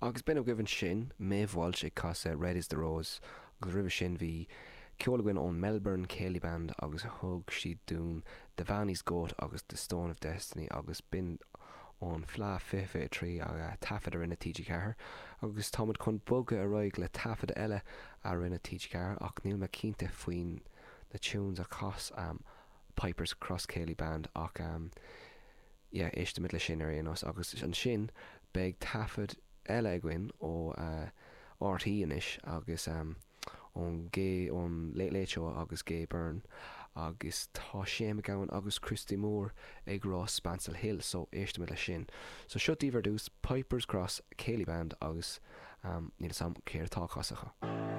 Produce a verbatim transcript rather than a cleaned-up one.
Agus b'in agaibh ansin Maeve Walsh ag casadh Red is the Rose agus roimhe sin bhí ceol againn ón Melbourne Céilí Band agus thug siad dúinn The Vannies Goat agus The Stone of Destiny agus b'in ón Fleadh fiche fiche trí a taifead a rinne TG Ceathair agus táimid chun bogadh ar aghaidh le taifead eile a rinne TG Ceathair ach níl mé cinnte faoin na tunes a chas um, Pipers Cross Céilí Band ach um, yeah, éistimid le sin ar aon nós agus ansin beidh taifead eile againn ó uh, RTÉ anois agus um, ón Gay ón Late Late Show agus Gay Byrne agus tá Shane MacGowan agus Christy Moore ag rá Spancil Hill so éistimid le sin. So seo daoibh ar dtús Pipers Cross Céilí Band agus um, níl a fhios agam céard atá á chasadh.